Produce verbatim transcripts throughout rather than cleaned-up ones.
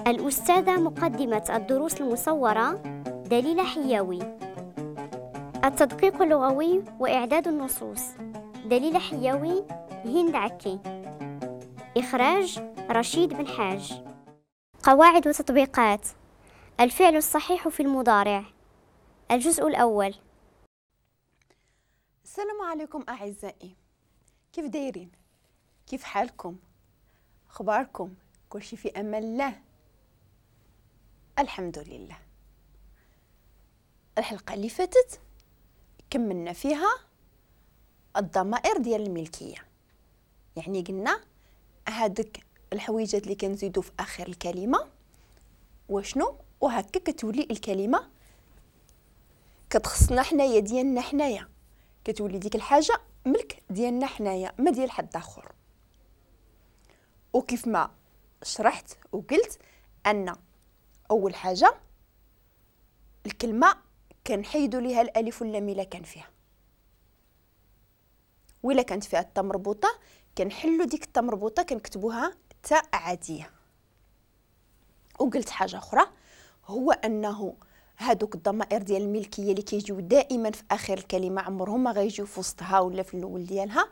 الأستاذة مقدمة الدروس المصورة دليلة حياوي. التدقيق اللغوي وإعداد النصوص دليلة حياوي، هند عكي. إخراج رشيد بن حاج. قواعد وتطبيقات الفعل الصحيح في المضارع، الجزء الأول. السلام عليكم أعزائي، كيف دايرين؟ كيف حالكم؟ أخباركم؟ كل شيء في أمان الله، الحمد لله. الحلقة اللي فاتت كملنا فيها الضمائر ديال الملكية، يعني قلنا هادك الحويجات اللي كنزيدو في آخر الكلمة وشنو، وهكا كتولي الكلمة كتخصنا حنايا، ديالنا حنايا، كتولي ديك الحاجة ملك ديالنا حنايا، ما ديال حد آخر. وكيف ما شرحت وقلت أن أول حاجة الكلمة كنحيدو ليها الألف واللام إلا كان فيها، وإلا كانت فيها التاء مربوطة كنحلو ديك التاء مربوطة كنكتبوها تاء عادية. وقلت حاجة أخرى، هو أنه هادوك الضمائر ديال الملكية اللي كيجيو دائما في آخر الكلمة عمرهم ما غيجيو في وسطها ولا في الأول ديالها،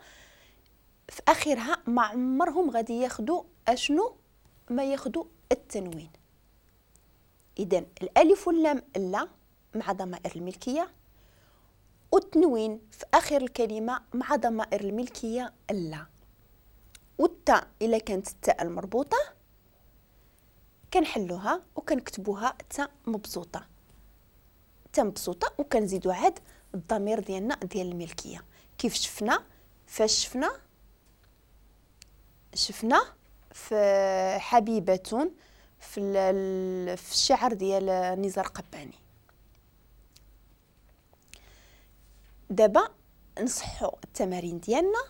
في آخرها ما عمرهم غادي ياخدو أشنو؟ ما ياخدو التنوين. إذن الألف واللام لا مع ضمائر الملكية، والتنوين في آخر الكلمة مع ضمائر الملكية لا، والتاء إلا كانت التاء المربوطة كنحلوها وكنكتبوها تاء مبسوطة، تاء مبسوطة، وكنزيدو عاد الضمير ديالنا ديال الملكية. كيف شفنا؟ فاش شفنا؟ شفنا في حبيبة في في الشعر ديال نزار قباني. دابا نصحوا التمارين ديالنا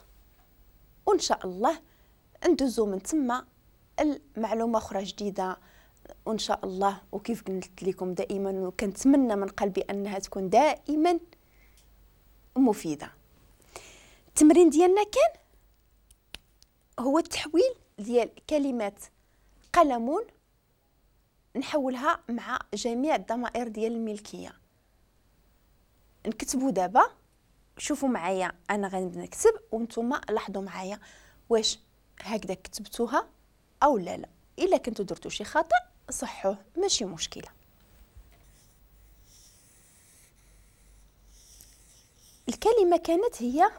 وان شاء الله ندوزو من تما المعلومة اخرى جديدة وان شاء الله. وكيف قلت لكم دائما وكنتمنى من قلبي انها تكون دائما مفيدة. التمرين ديالنا كان هو التحويل ديال كلمات قلمون، نحولها مع جميع الضمائر ديال الملكية. نكتبوا دابا، شوفوا معايا انا غنبدا نكتب وانتم لاحظوا معايا واش هكذا كتبتوها او لا لا. الا كنتو درتو شي خطا صحوة، ماشي مشكلة. الكلمة كانت هي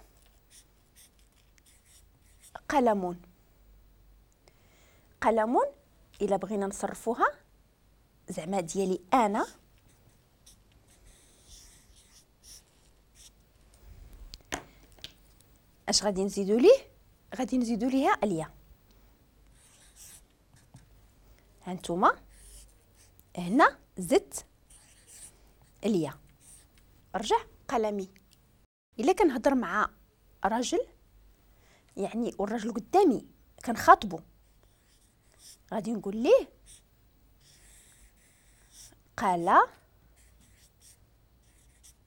قلمون. قلمون الا بغينا نصرفوها زعما ديالي انا، اش غادي نزيدو ليه؟ غادي نزيدو ليها اليا. هانتوما هنا زدت اليا، رجع قلمي. الا كنهضر مع راجل يعني والراجل قدامي كنخاطبو، غادي نقول ليه قال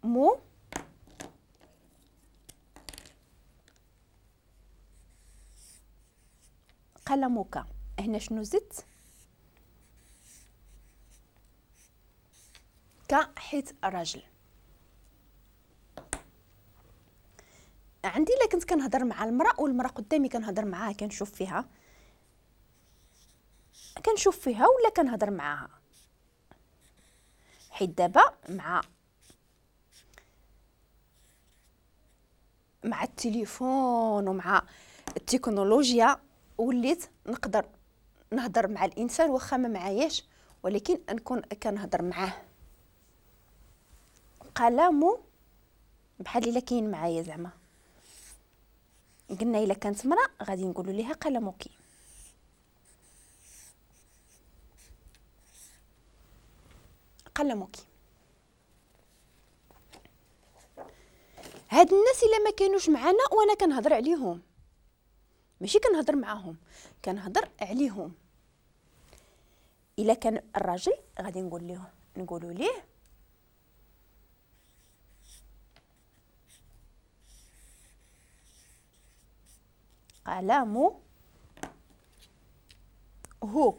مو قلمك. هنا شنو زدت؟ ك حيت راجل. عندي الا كنت كنهضر مع المراة والمراة قدامي كنهضر معاها كنشوف فيها كنشوف فيها ولا كنهضر معاها، حيت دابا مع مع التليفون ومع التكنولوجيا وليت نقدر نهضر مع الانسان واخا ما معاياش، ولكن نكون كنهضر معاه. قلمو بحال الا كاين معايا زعما. قلنا الا كانت مراة غادي نقولوا ليها قلمك. قلمك. هاد الناس الا ما كانوش معنا وانا كنهضر عليهم، ماشي كنهضر معاهم، كنهضر عليهم. الا كان الراجل غادي نقول ليه نقولوا ليه قلمه هو.